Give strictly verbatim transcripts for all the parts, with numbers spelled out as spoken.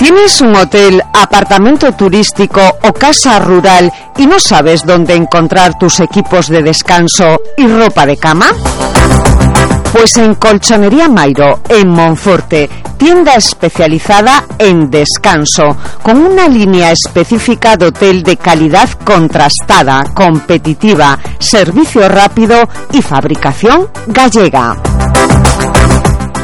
¿Tienes un hotel, apartamento turístico o casa rural y no sabes dónde encontrar tus equipos de descanso y ropa de cama? Pues en Colchonería Mairo, en Monforte, tienda especializada en descanso, con una línea específica de hotel de calidad contrastada, competitiva, servicio rápido y fabricación gallega.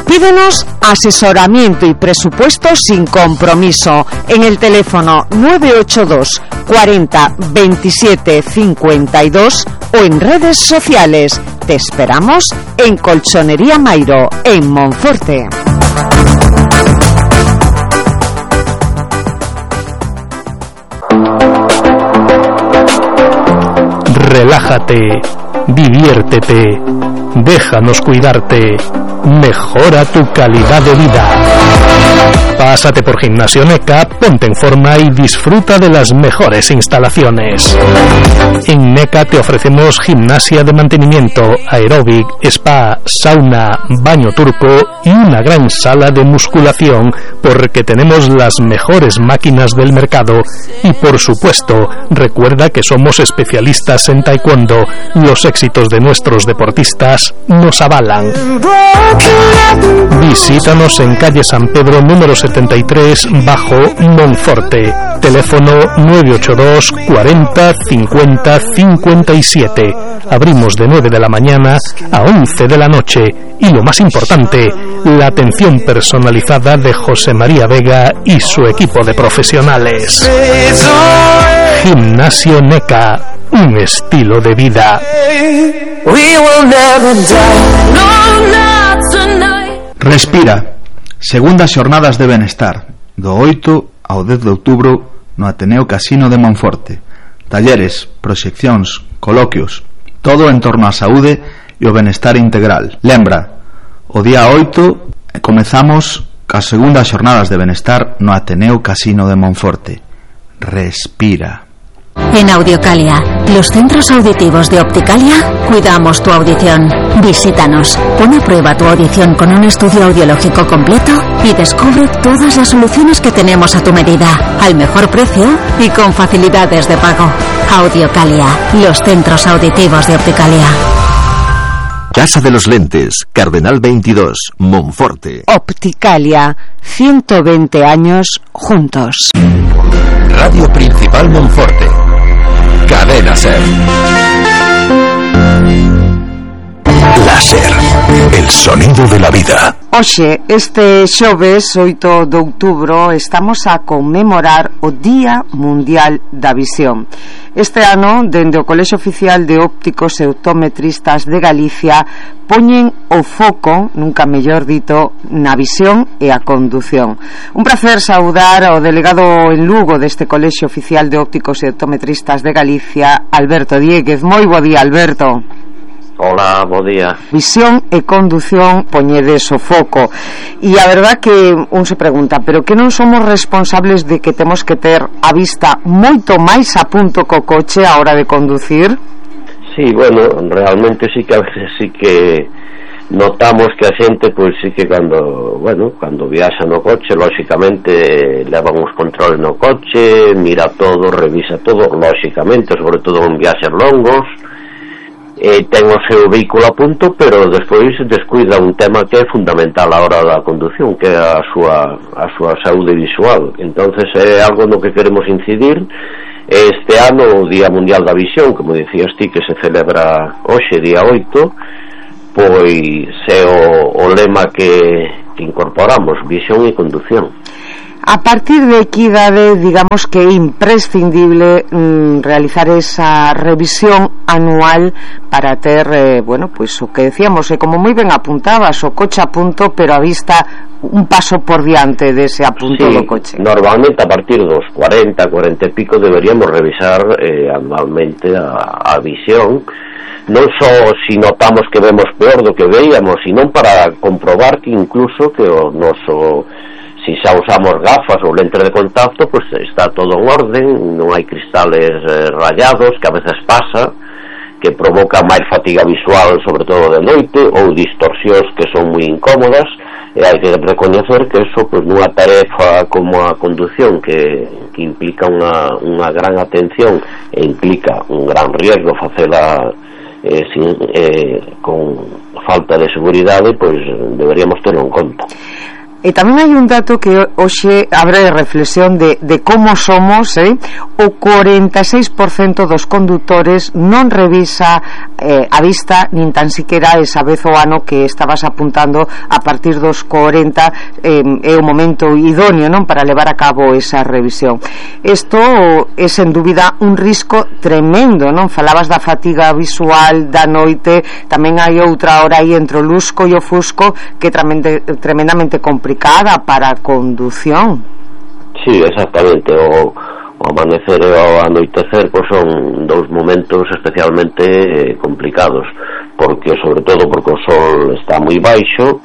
Pídenos asesoramiento y presupuesto sin compromiso en el teléfono nueve ocho dos cuarenta veintisiete cincuenta y dos o en redes sociales. Te esperamos en Colchonería Mairo, en Monforte. Relájate, diviértete, déjanos cuidarte, mejora tu calidad de vida. Pásate por Gimnasio NECA, ponte en forma y disfruta de las mejores instalaciones. En NECA te ofrecemos gimnasia de mantenimiento, aeróbic, spa, sauna, baño turco y una gran sala de musculación, porque tenemos las mejores máquinas del mercado. Y por supuesto, recuerda que somos especialistas en taekwondo. Los éxitos de nuestros deportistas nos avalan. Visítanos en calle San Pedro número setenta y tres, bajo Monforte. Teléfono nueve ocho dos cuarenta cincuenta cincuenta y siete. Abrimos de nueve de la mañana a once de la noche. Y lo más importante, la atención personalizada de José María Vega y su equipo de profesionales. Gimnasio NECA, un estilo de vida. Respira. Segundas xornadas de benestar, do oito ao dez de outubro no Ateneo Casino de Monforte. Talleres, proxeccións, coloquios, todo en torno á saúde e o benestar integral. Lembra, o día oito comezamos as segundas xornadas de benestar no Ateneo Casino de Monforte. Respira. En Audiocalia, los centros auditivos de Opticalia, cuidamos tu audición. Visítanos, pon a prueba tu audición con un estudio audiológico completo y descubre todas las soluciones que tenemos a tu medida, al mejor precio y con facilidades de pago. Audiocalia, los centros auditivos de Opticalia. Casa de los Lentes, Cardenal veintidós, Monforte. Opticalia, ciento veinte años juntos. Radio Principal Monforte. Cadena Ser. Láser, el sonido de la vida. Oxe, este xoves oito de outubro estamos a conmemorar o Día Mundial da Visión. Este ano, dende o Colexio Oficial de Ópticos e Optometristas de Galicia, poñen o foco, nunca mellor dito, na visión e a condución. Un placer saudar ao delegado en Lugo deste Colexio Oficial de Ópticos e Optometristas de Galicia, Alberto Dieguez. Moi bo día, Alberto. Hola, bo día. Visión e condución poñedes o foco. E a verdad que un se pregunta, pero que non somos responsables de que temos que ter a vista moito máis a punto co coche a hora de conducir? Sí, bueno, realmente sí que a veces sí que notamos que a xente, pois sí que cando, bueno, cando viaxa no coche, lóxicamente levan os controles no coche, mira todo, revisa todo, lóxicamente, sobre todo en viaxes longos, e ten o seu vehículo a punto, pero despois descuida un tema que é fundamental a hora da condución, que é a súa, a súa saúde visual. Entonces é algo no que queremos incidir. Este ano, o Día Mundial da Visión, como dicías ti, que se celebra hoxe, día oito, pois é o, o lema que, que incorporamos, visión e condución. A partir de que idade, digamos que é imprescindible mm, realizar esa revisión anual para ter, eh, bueno, pues o que decíamos, eh, como moi ben apuntabas, o coche a punto, pero a vista un paso por diante dese apunto sí, do coche. Normalmente a partir dos cuarenta, cuarenta e pico deberíamos revisar eh, anualmente a, a visión, non só si notamos que vemos peor do que veíamos, sino para comprobar que incluso que o noso, si xa usamos gafas ou lentes de contacto, pues está todo en orden, non hai cristales eh, rayados, que a veces pasa, que provoca máis fatiga visual, sobre todo de noite, ou distorsións que son moi incómodas. e hai que recoñecer que eso, pois, nunha tarefa como a condución que, que implica unha, unha gran atención e implica un gran riesgo facela eh, sin, eh, con falta de seguridade, pois deberíamos terlo en conta. E tamén hai un dato que hoxe abre reflexión de, de como somos, eh? O cuarenta e seis por cento dos condutores non revisa eh, a vista nin tan siquera esa vez o ano que estabas apuntando a partir dos cuarenta eh, é o momento idóneo, non, para levar a cabo esa revisión. Isto é sen dúbida un risco tremendo, non? Falabas da fatiga visual da noite, tamén hai outra hora aí entre o lusco e o fusco que é tremendamente, tremendamente complicado para a condución. Sí, exactamente. O, o amanecer e o anoitecer, pois, son dous momentos especialmente eh, complicados, porque sobre todo porque o sol está moi baixo,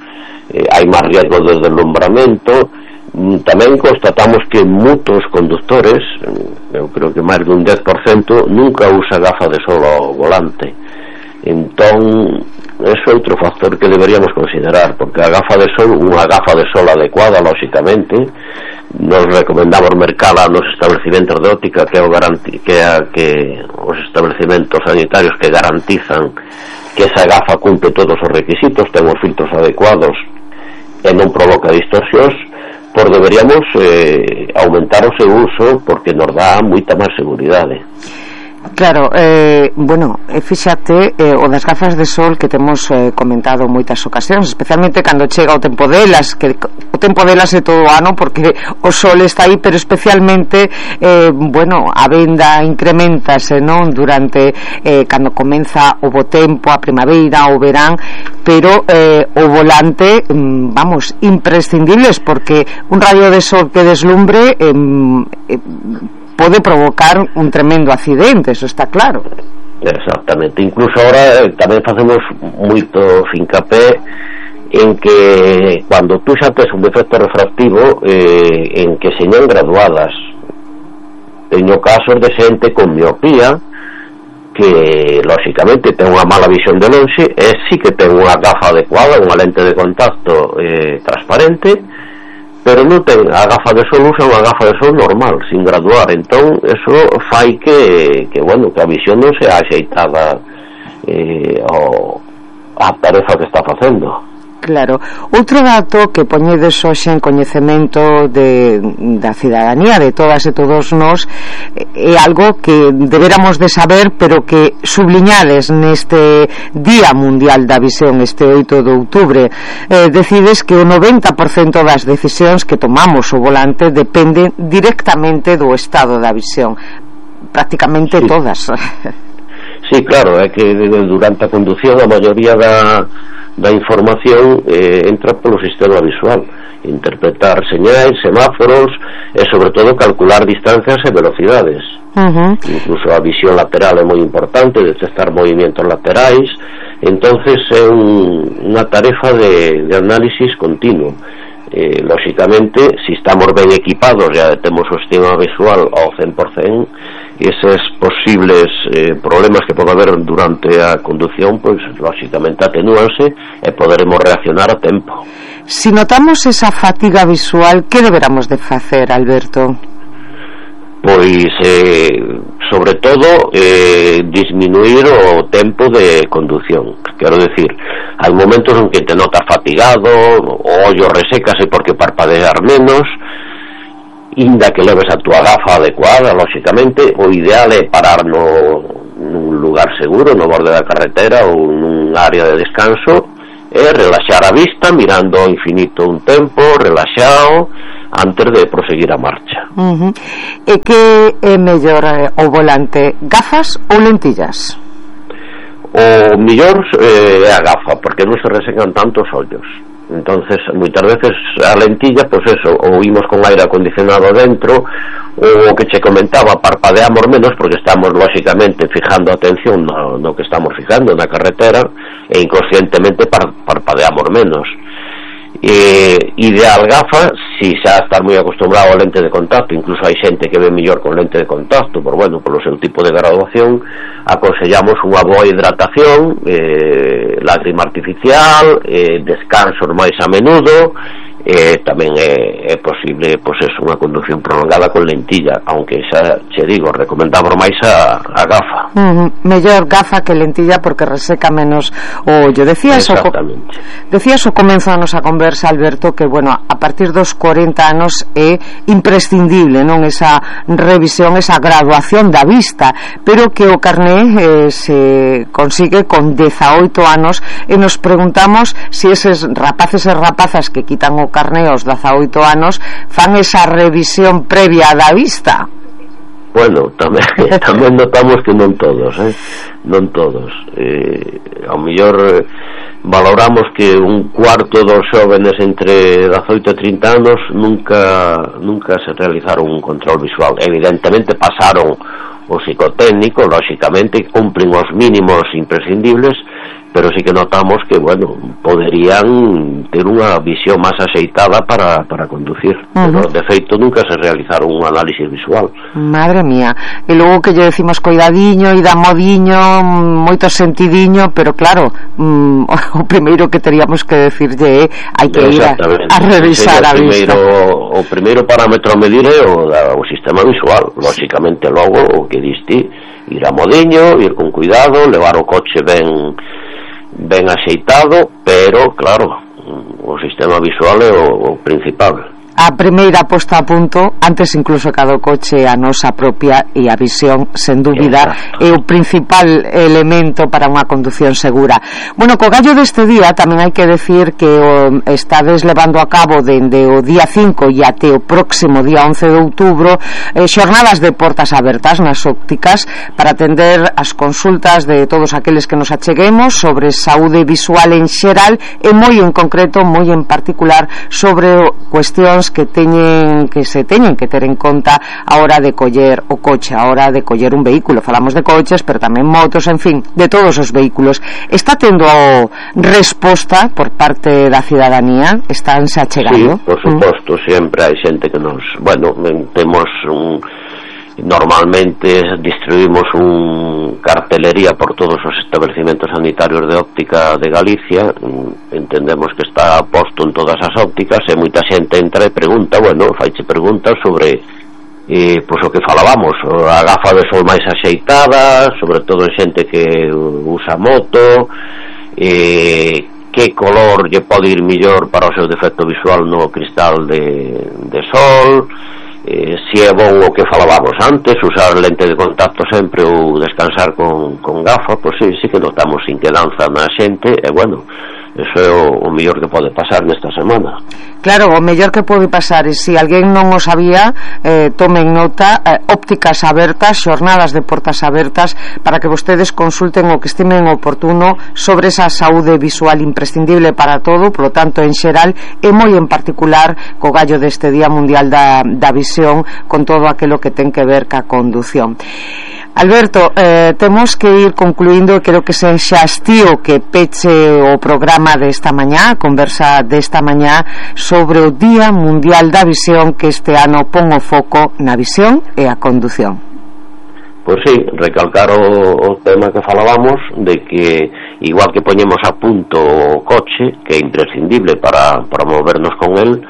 eh, hai máis riesgo de deslumbramento. Tamén constatamos que moitos conductores, eu creo que máis dun dez por cento, nunca usa gafa de sol ao volante. Entón, é outro factor que deberíamos considerar, porque a gafa de sol, unha gafa de sol adecuada, lóxicamente, nos recomendamos mercala nos establecimentos de óptica, que é o garanti, que é que os establecimentos sanitarios que garantizan que esa gafa cumple todos os requisitos, ten os filtros adecuados e non provoca distorsións, pois deberíamos eh, aumentar o seu uso, porque nos dá moita máis seguridade. Claro, eh, bueno, fíxate eh, o das gafas de sol que temos eh, comentado moitas ocasións, especialmente cando chega o tempo delas, que o tempo delas é todo o ano porque o sol está aí, pero especialmente eh, bueno, a venda incrementase, non, durante eh, cando comeza o bo tempo, a primavera, o verán, pero eh, o volante, vamos, imprescindibles, porque un rayo de sol que deslumbre eh, eh, pode provocar un tremendo accidente, eso está claro. Exactamente, incluso ahora eh, tamén facemos moito fincapé en que cando tú xa tes un defecto refractivo eh, en que señan graduadas. Teño casos de xente con miopía que lóxicamente ten unha mala visión de lonxe e sí que ten unha gafa adecuada, unha lente de contacto eh, transparente, pero non ten a gafa de sol, usa unha gafa de sol normal, sin graduar. Entón, eso fai que, que bueno, que a visión non sea axeitada eh, ao, a tarefa que está facendo. Claro. Outro dato que poñedes hoxe en coñecemento de, da cidadanía, de todas e todos nós, é algo que deberamos de saber, pero que subliñades neste Día Mundial da Visión, este oito de outubro. Eh, decides que o noventa por cento das decisións que tomamos o volante dependen directamente do estado da visión. Prácticamente sí. Todas. Sí, claro, é que durante a condución a maioría da da información eh, entra polo sistema visual, interpretar señais, semáforos e sobre todo calcular distancias e velocidades. Uh-huh. Incluso a visión lateral é moi importante, detectar movimentos laterais. Entonces é un, unha tarefa de, de análisis continuo. Eh, lóxicamente, si estamos ben equipados, ya temos o sistema visual ao cen por cento, eses posibles eh, problemas que pode haber durante a condución, pois lóxicamente atenúanse e poderemos reaccionar a tempo. Si notamos esa fatiga visual, que deberamos de facer, Alberto? Pois eh, sobre todo eh, disminuir o tempo de condución. Quero decir, hai momentos en que te notas fatigado, o ollo resecase porque parpadear menos, inda que leves a túa gafa adecuada, lóxicamente, o ideal é parar no, nun lugar seguro, no borde da carretera ou nun área de descanso, e relaxar a vista mirando ao infinito un tempo, relaxado, antes de proseguir a marcha. Uh-huh. E que é mellor eh, o volante, gafas ou lentillas? O mellor eh, é a gafa, porque non se resecan tanto os ollos. Entonces, moitas veces a lentilla, pois pues eso, ou imos con aire acondicionado dentro, ou o que che comentaba, parpadeamos menos porque estamos lóxicamente fijando atención no, no que estamos fijando na carretera, e inconscientemente par, parpadeamos menos. eh, ideal gafa si xa estar moi acostumbrado ao lente de contacto. Incluso hai xente que ve mellor con lente de contacto, por bueno, polo seu tipo de graduación. Aconsellamos unha boa hidratación, eh, lágrima artificial, eh, descansos máis a menudo. Eh, tamén é, é posible, pois é unha conducción prolongada con lentilla, aunque xa che digo, recomendamos máis a, a gafa. Uh-huh. Mellor gafa que lentilla porque reseca menos o ollo. Decías o, decías o comenzo da nosa conversa, Alberto, que bueno, a partir dos corenta anos é imprescindible, non, esa revisión, esa graduación da vista, pero que o carné eh, se consigue con dezaoito anos, e nos preguntamos se si eses rapaces e rapazas que quitan o carné aos dezaoito anos fan esa revisión previa da vista. Bueno, tamén, tamén notamos que non todos, eh? non todos. Eh, ao mellor eh, valoramos que un cuarto dos xóvenes entre dezaoito e trinta anos nunca nunca se realizaron un control visual. Evidentemente pasaron o psicotécnico, lógicamente cumplen os mínimos imprescindibles, pero sí que notamos que, bueno, poderían ter unha visión máis axeitada para, para conducir. Uh-huh. Pero, de feito, nunca se realizaron un análisis visual. Madre mía. E logo que lle decimos coidadiño e da modiño, moito sentidiño, pero claro, mm, o primeiro que teríamos que decirlle é hai que ir a, a revisar a vista. O primeiro parámetro a medir é o, da, o sistema visual. Lógicamente, logo, o que diste, ir a modiño, ir con cuidado, levar o coche ben ben axeitado, pero claro, o sistema visual é o, o principal. A primeira posta a punto, antes incluso cada coche, a nosa propia, e a visión, sen dúbida, é o principal elemento para unha condución segura. Bueno, co gallo deste día tamén hai que decir que o estades levando a cabo dende o día cinco e até o próximo día once de outubro eh, xornadas de portas abertas nas ópticas para atender as consultas de todos aqueles que nos acheguemos sobre saúde visual en xeral e moi en concreto, moi en particular sobre cuestións que teñen que se teñen que ter en conta a hora de coller o coche, a hora de coller un vehículo. Falamos de coches, pero tamén motos, en fin, de todos os vehículos. Está tendo resposta por parte da cidadanía? Estánse achegando? Sí, por suposto, mm. sempre hai xente que nos, bueno, temos un normalmente distribuimos un cartelería por todos os estabelecimentos sanitarios de óptica de Galicia. Entendemos que está posto en todas as ópticas e moita xente entra e pregunta, bueno, faiche preguntas sobre eh, pois o que falábamos, a gafa de sol máis axeitada, sobre todo xente que usa moto, eh, que color lle pode ir millor para o seu defecto visual no cristal de, de sol, eh, si é bon o que falábamos antes, usar lente de contacto sempre ou descansar con, con gafa. Pois sí, sí que notamos inquedanza na xente e bueno, eso é o, o mellor que pode pasar nesta semana. Claro, o mellor que pode pasar, e se alguén non o sabía, eh, tomen nota, eh, ópticas abertas, xornadas de portas abertas, para que vostedes consulten o que estimen oportuno sobre esa saúde visual imprescindible para todo, polo tanto en xeral e moi en particular co gallo deste Día Mundial da, da Visión, con todo aquilo que ten que ver ca condución. Alberto, eh, temos que ir concluindo, e creo que se xa estío que peche o programa desta mañá, a conversa desta mañá sobre o Día Mundial da Visión, que este ano pon o foco na visión e a condución. Pois sí, recalcar o, o tema que falábamos, de que igual que poñemos a punto o coche, que é imprescindible para, para movernos con el,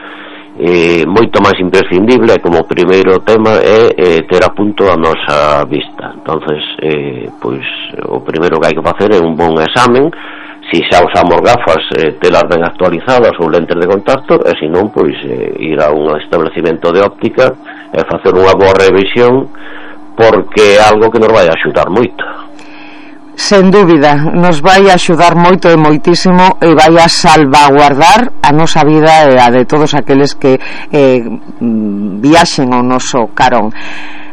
Eh, moito máis imprescindible como primeiro tema é eh, ter a punto a nosa vista. Entonces eh, pois o primeiro que hai que facer é un bon examen, si xa usamos gafas, eh, telas ben actualizadas ou lentes de contacto, e se non, pois eh, ir a un establecimento de óptica e facer unha boa revisión, porque é algo que nos vai axudar moito. Sen dúbida, nos vai axudar moito e moitísimo, e vai a salvaguardar a nosa vida e a de todos aqueles que eh, viaxen ao noso carón.